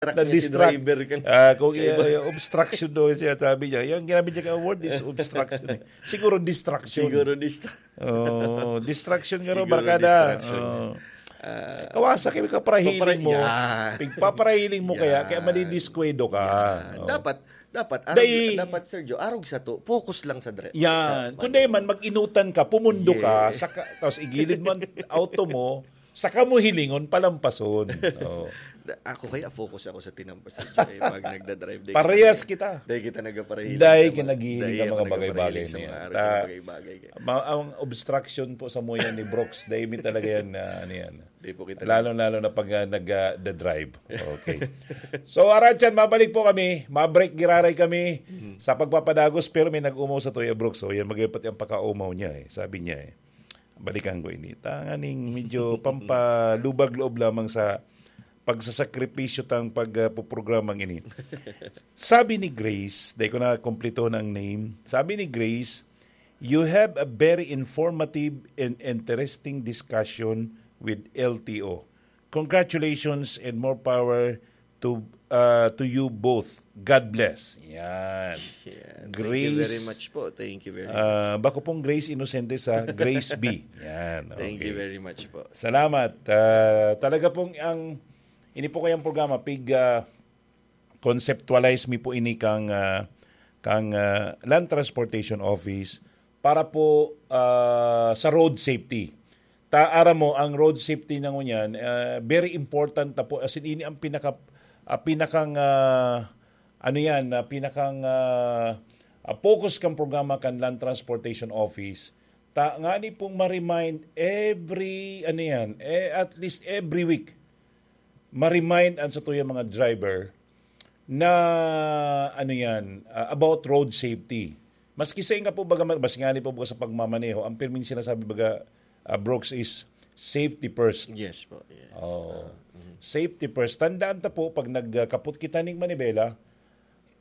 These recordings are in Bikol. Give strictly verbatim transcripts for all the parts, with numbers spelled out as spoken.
Na-distract niya si driver kang Ah, kung kaiba. i-, i-, obstruction daw siya, sabi niya. Yung ginamit niya ka word is obstruction eh. Siguro distraction. Siguro distra- Oh, distraction nga raw, Siguro barkada. distraction. Oh. Ah, Kawasa kayo, kaparahiling papara-, mo. yan. Pigpaparahiling mo kaya, kaya Yan. madidiskwento ka. Yan. Oh. Dapat, dapat, arog, Dai- dapat, Sergio, arog sa to, focus lang sa dre-, Yan. sa Kung di man, mag-inutan ka, pumundo ka, Yes. saka, tapos igilid mo ang auto mo, saka mo hilingon, palampason. Oh. Da-, ako kaya, focus ako sa tinampo, Sergio, eh, pag nagdadrive, di Parehas kita nag-, kita. di kita nagpapahiling Dahil sa mga, kinagiling dahil ka ako mga bagay-bagay nagpapahiling sa na yan. mga araw, Ta-, mga bagay-bagay. ma-, ang obstruction po sa muya ni Brooks, dahil may talaga yan na, ano yan. Di po kita Lalo-lalo na pag, ah, nag, ah, da-drive. Okay. So, Arantian, mabalik po kami. Ma-break, giraray kami Mhm. sa pagpapadagos, pero may nag-umaw sa Toya Brooks. So, yan, magaypat yung pakaumaw niya eh. Sabi niya eh. Balikan ko ini. Tanganing medyo pampalubag-loob lamang sa pagsasakripisyo tang pag, ah, puprogramang ini. Sabi ni Grace, dahil ko na kumplito na ang name. Sabi ni Grace, "You have a very informative and interesting discussion with L T O. Congratulations and more power to, ah, to you both. God bless." Yan. Yeah, thank you Grace, very much po. Thank you very ah, much. bako pong Grace Inocente sa Grace B. Yan, Thank you okay. very much po. Salamat. Ah, talaga pong ang, ini po kayang programa, pig, ah, conceptualize mi po ini kang, ah, kang, ah, Land Transportation Office para po, ah, sa road safety. Ta, aram mo, ang road safety na ngunyan, ah, very important na po. As in, ini ang pinaka, ah, pinakang, ah, ano yan, ah, pinakang, ah, ah, focus kang programa kan Land Transportation Office. Ta, ngani pong ma-remind every, ano yan, eh, at least every week, ma-remind ang satuyang mga driver na, ano yan, ah, about road safety. Maski sa inga po, baga, mas ngani po, baga, sa pagmamaneho, ang pirming sinasabi, baga, ah, Brooks, is safety first. Yes po, yes. Oo. Ah, mhm. Safety first. Tandaan ta po, pag nagkapot kita ning manibela,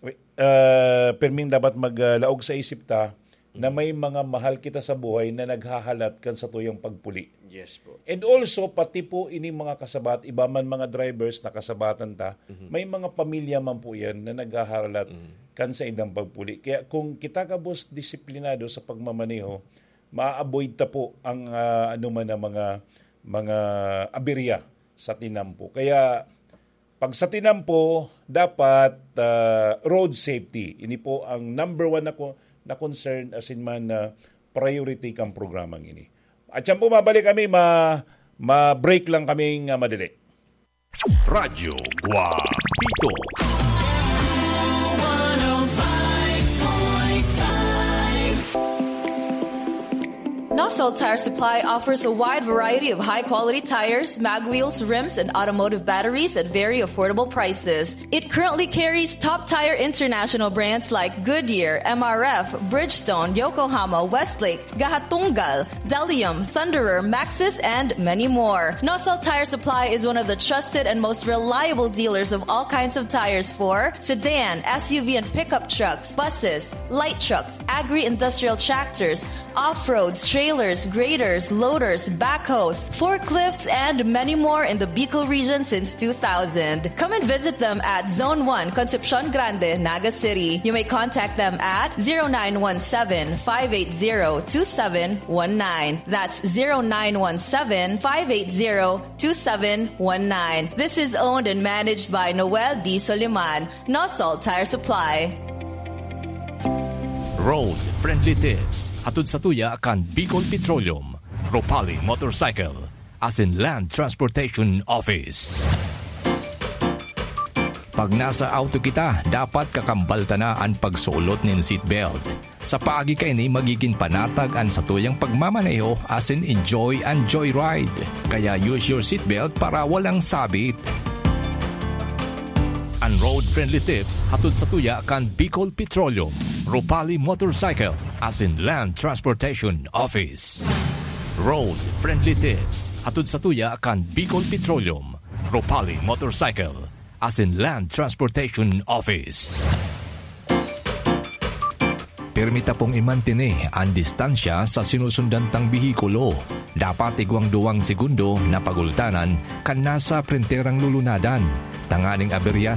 wi-, ah, pirming dapat maglaog sa isip ta na Mhm. may mga mahal kita sa buhay na naghahalat kan satuyang pagpuli. Yes po. And also, pati po ining mga kasabat, iba man mga drivers na kasabatan ta, Mhm. may mga pamilya man po yan na naghahalat Mhm. kan saindang pagpuli. Kaya kung kita gabos disiplinado sa pagmamaneho, ma-avoid ta po ang, ah, anuman na mga, mga aberya sa tinampo. Kaya, pag sa tinampo, dapat, ah, road safety. Ini po ang number one na ko-, na concern, as in man, na priority kang programang ini. At siyan po, mabalik kami, ma-, ma-break lang kaming, ah, madali. Radyo Guapito. Nosol Tire Supply offers a wide variety of high-quality tires, mag wheels, rims, and automotive batteries at very affordable prices. It currently carries top tire international brands like Goodyear, M R F, Bridgestone, Yokohama, Westlake, Gahatunggal, Delium, Thunderer, Maxxis, and many more. Nosol Tire Supply is one of the trusted and most reliable dealers of all kinds of tires for sedan, S U V, and pickup trucks, buses, light trucks, agri-industrial tractors, off-roads, trailers, graders, loaders, backhoes, forklifts, and many more in the Bicol region since two thousand. Come and visit them at Zone one, Concepcion Grande, Naga City. You may contact them at zero nine one seven, five eight zero, two seven one nine. That's zero nine one seven, five eight zero, two seven one nine. This is owned and managed by Noel D. Soliman, Nosol Tire Supply. Road Friendly Tips, hatod sa tuya kan Bicol Petroleum, Ropali Motorcycle, asin Land Transportation Office. Pag nasa auto kita, dapat kakambal ta na an pagsulot nin seatbelt. Sa paagi kaini, magigin panatag an satuyang pagmamaneho asin enjoy an joyride. Kaya use your seatbelt para walang sabit. An Road Friendly Tips hatod sa tuya kan Bicol Petroleum, Ropali Motorcycle, asin Land Transportation Office. Road Friendly Tips hatod sa tuya kan Bicol Petroleum, Ropali Motorcycle, asin Land Transportation Office. Pirmi ta pong imantini an distansya sa sinusundan tang behikulo. Dapat igwang duwang segundo na pagultanan kan nasa prenterang lulunadan, tanganing aberya